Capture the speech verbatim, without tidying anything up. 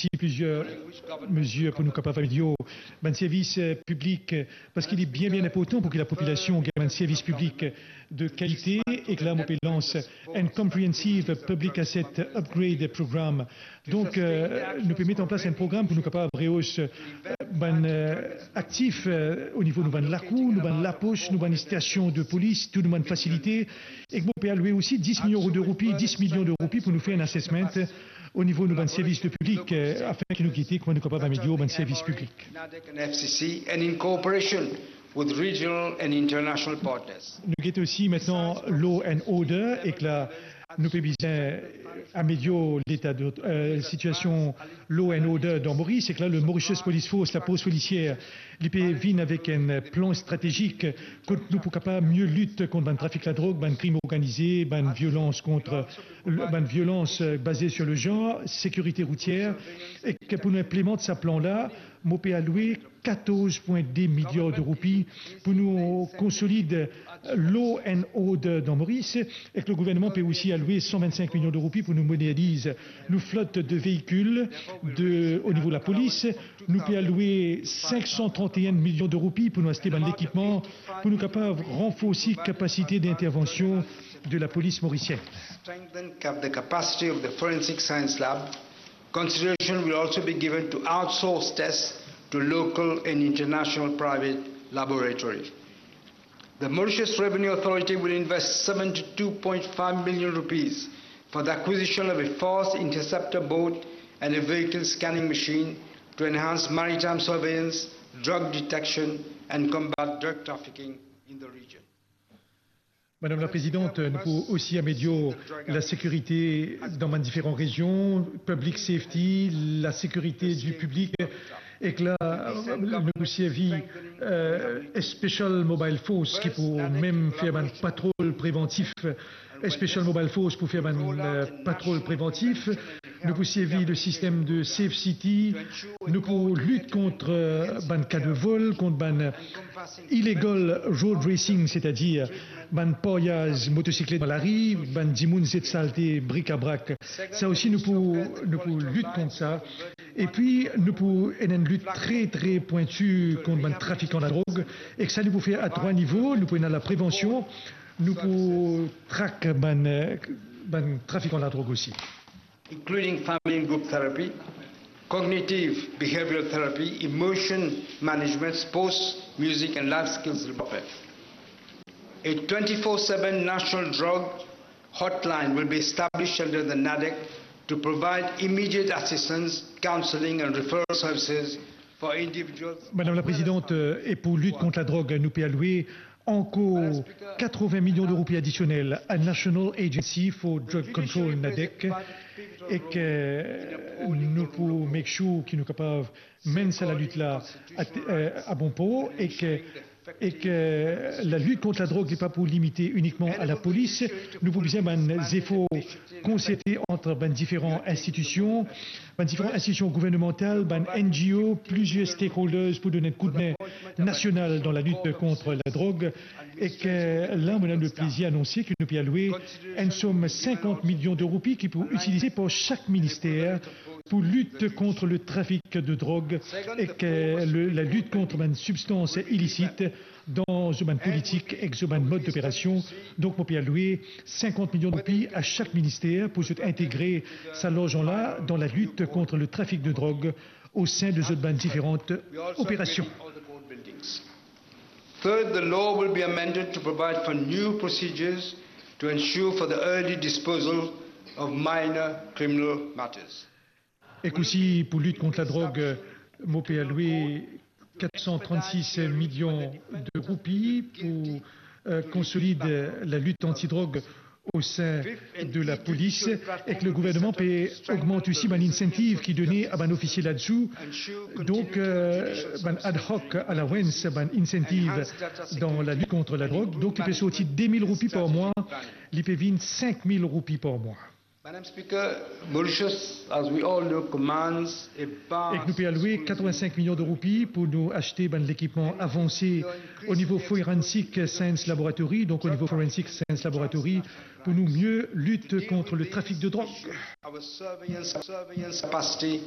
osi plizier mezir pou nou kapav amelior bann servis, eh, piblik, eh, parski li bien, bien inportan pou ki lapopilasion gagn bann servis piblik de kalite, ek la mo pe lans enn Comprehensive Public Asset Upgrade Program. Donk, eh, nou pe met an plas enn program pou nou kapav rehos, eh, bann, eh, aktif, eh, o nivo nou bann lakour, nou bann lapos, nou bann stasion de polis, tou nou bann fasilite. Ek mo pe alwe osi dis milion de roupi, dis milion de roupi pou nou fer enn assessment o nivo nou bann servis de piblik, eh, afin ki nou gete kouma nou kapav amelior bann servis piblik. NADEC and F C C, and in cooperation with regional and international partners. Nou gete osi aster Law and Order, ek la nou pe bizin amelior leta de, eh, sitiasion law and order dan Moris, ek la le Mauritius Police Force, lapolis polisier, li pe vinn avek enn plan stratezik kot nou pou kapav mie lit kont bann trafik ladrog, bann krim organize, bann violans kont, bann violans, eh, baze sur le genre, sekirite routier, ek pou nou inplimant sa plan la, mo pe alwe katorz pwin de miliar de roupi pou nou konsolid law and order dan Moris, ek le gouvernman pe osi alwe san vinn-sink milion de roupi pou nou moderniz nou flot de veikil de, o nivo lapolis. Nou pe alwe sink san trant-e-enn milion de roupi pou nou aste bann lekipman pou nou kapav ranforsi kapasite d'intervention de lapolis morisienn. Strengthen cap-, the capacity of the Forensic Science Lab. Consideration will also be given to outsource tests to local and international private laboratories. The Mauritius Revenue Authority will invest seventy-two point five million rupees for the acquisition of a fast interceptor boat and a vehicle scanning machine to enhance maritime surveillance, drug detection, and combat drug trafficking in the region. Madame la Présidente, nou pou osi amelior lasekirite dan bann diferan rezion, public safety, lasekirite di piblik, ek la, nou pou servi, eh, Special Mobile Force ki pou mem fer bann patrol prevantif, Special Mobile Force pou fer bann, eh, patrol prevantif. Nou pou servi le sistem de Safe City, nou pou lit kont, eh, bann ka de vol, kont bann illegal road racing, setadir bann paryaz motosiklet dan lari, bann dimoun zet salte, brikabrak. Sa osi nou pou, nou pou lit kont sa. Epi nou pou ena enn lit tre, tre pwinti kont bann trafikan ladrog. Ek sa nou pou fer a trwa nivo, nou pou ena laprevansion, nou pou trak bann, eh, bann trafikan ladrog osi. Including family and group therapy, cognitive behavioral therapy, emotion management, sports, music and life skills development. A twenty-four seven national drug hotline will be established under the NADEC to provide immediate assistance, counseling and referral services for individuals. Madame la Présidente, euh, e pou lit kont ladrog, nou pe alwe ankor katrevin milion de roupi adisionel a National Agency for Drug Control, NADEC, ek nou pou make sure ki nou kapav menn sa lalit la a, euh, a bon por, ek, ek lalit kont ladrog, li pa pou limite inikman a lapolis. Nou pou bizin bann zefor konserte ant bann diferan institision, bann diferan institision gouvernemantal, bann N G O, plizier stakeholders pou donn enn koudme nasional dan lalit kont ladrog. Ek la, mo ena le plezir anonse ki nou pe alwe enn som sinkant milion de roupi ki pou itilize par sak minister pou lit kont le trafik de drog ek le, lalit kont bann sibstans ilisit dan zot bann politik ek zot bann mod doperasion. Donk, mo pe alwe sinkant milion de roupi a sak minister pou zot integre sa larzan la dan lalit kont le trafik de drog o sein de zot bann diferan operasion. Third, the law will be amended to provide for new procedures to ensure for the early disposal of minor criminal matters. Ek osi pou lit kont ladrog, mo pe alwe kat san trannsis milion de roupi pou, euh, konsolid lalit antidrog o sein de lapolis, ek le gouvernman pe ogmant osi bann incentive ki done a bann ofisie ladzour. Donk, euh, bann ad hoc allowance, bann incentive dan lalit kont ladrog. Donk, li pe sorti de mil roupi par mwa, li pe vinn sink mil roupi par mwa. Madam Speaker, Mauritius, as we all know, commands a vast... Ek nou pe alwe katrevin-sink milion de roupi pou nou aste bann lekipman avanse o nivo Forensic Science Laboratory, donk o nivo Forensic Science Laboratory, pou nou mie lit kont le trafik de drog. Our surveillance, surveillance capacity